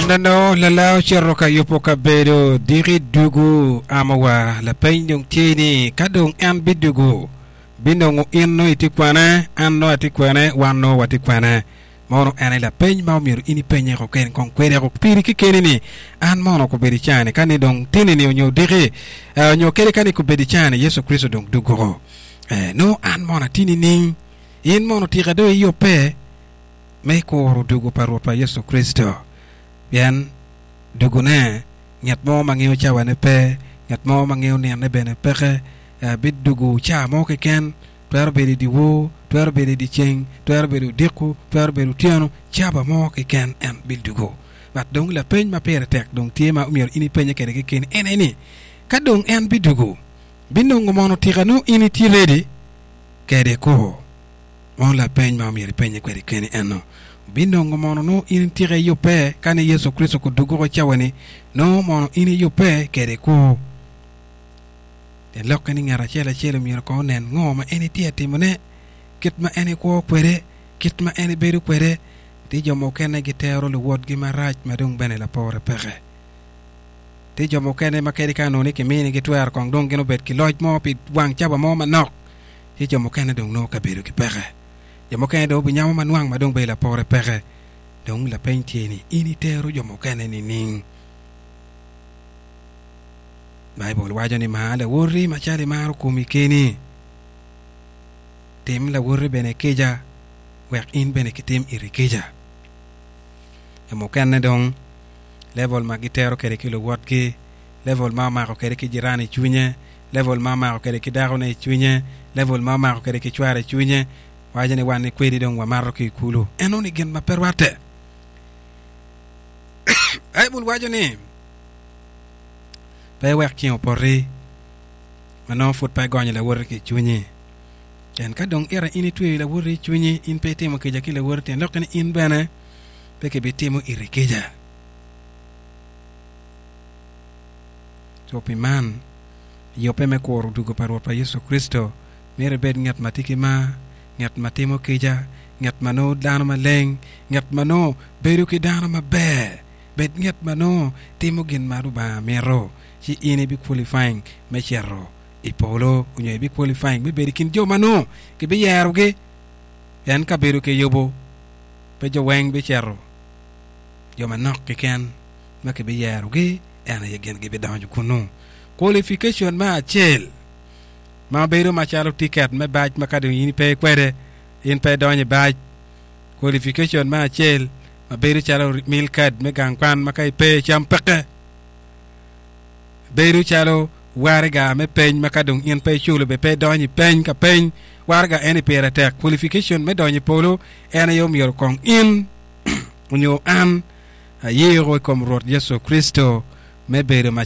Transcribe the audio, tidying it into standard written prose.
Aneno lala ocito ka yubo kabedo diki dugu amo wa lapeny dong tye ni ka dong en bidugu binongo in nongo itye kwene an nongo atye kwene wan nongo watye kwene mono en aye lapeny ma omyero in ipenye koken kong kwede ko piri kekeni ni an mono kobedo icani ka ni dong tini ni onyo diki onyo kadi ka ni kobedo icani Yecu Kricito dong dugu eh nongo an mono atye nining in mono tika dong iyubbe me kuro dugu pa Rwotwa Yecu Kricito, pien dugune, ngat mo ma ngeyo cawane pe, ngat mo ma ngeyo ninone bene peke, bidugo ca mo keken, twero bedo i dyewor, twero bedo i dyeceng, twero bedo odiko, twero bedo otyeno, caba mo keken en bidugo. But dong lapeny ma pire tek dong tye ma myero in ipenye kwede kekeni en aye ni, ka dong en bidugo, binongo mono tika nongo in itye ready kwede kwo? Mono lapeny ma omyero ipenye kwede keni eno, Binongo mono nongo in tika iyubbe ka ni Yecu Kricito kudugoko cawa-ni, nongo mono in iyubbe kede kwo? Tyen lokke ni ngat acel acel omyero kong onen ngo ma en etye ka timone, kit ma en ekwo kwede, kit ma en ebedo kwede. Tye jo mukene gitero luwotgi marac ma dong bene lapore peke. Tye jo mukene ma kadi ka onongo ni kiminigi twero kong dong gin obed ki loc mo pi wang cawa mo manok, ci jo mukene dong nongo kabedo ki peke. Jo mukene dong obinyamo ma nwang ma dong bedo lapore peke. Dong lapeny tye ni, in itero jo mukene nining? Baibul waco ni mar lawoti macalo imaro komi keni. Tim lawoti bene kica wek in bene kitim iri kica. Jo mukene dong level ma gitero kwede ki luwotgi, level ma omako kwede ki jirani i cwinye, level ma omako kwede ki dakone i cwinye, level ma omako kwede ki cware i cwinye, waco ni wan ni kwedi dong wamato ki i kulu. Enoni gin ma pe rwatte. Baibul waco ni pe iwek ceng opoti ma nongo pud pe igonyo lawoti ki i cwinyi. Pien ka dong ita in itweyo lawoti i cwinyi, in pe itimo kica ki lawoti, tyen lokke ni in bene pe kibitimo iri kica. Co pi man, yubbe me kuro dwogo pa Rwotwa Yecu Kricito, myero ibed ngat ma tye ki mar, ngat ma timo kica, ngat ma nongo dano maleng, ngat ma nongo bedo ki dano maber. Bed ngat ma nongo timo gin ma Lubanga mito, ci in ibi qualifying me cito i polo nyo ibi qualifying me bedo i kin jo ma nongo kibiyerogi. Pien kabedo kiyubo, pe jo weng bicito, jo manok keken ma kibiyerogi en aye gin gibidonyo kunnu. Qualification me acel ma bedo macalo ticket me bac ma ka dong in ipe kwede in pe idonyo i bac. Qualification me acel ma bedo calo meal card me gang kwan ma ka ipe cam peke. Bedo calo waraga me peny ma ka dong in pe iculo bene pe idonyo i peny ka peny. Waraga eni pire tek. Qualification me donyo i polo en aye omyero kong in onyo an ayeko i kom Rwot Yecu Kricito me bedo macalo.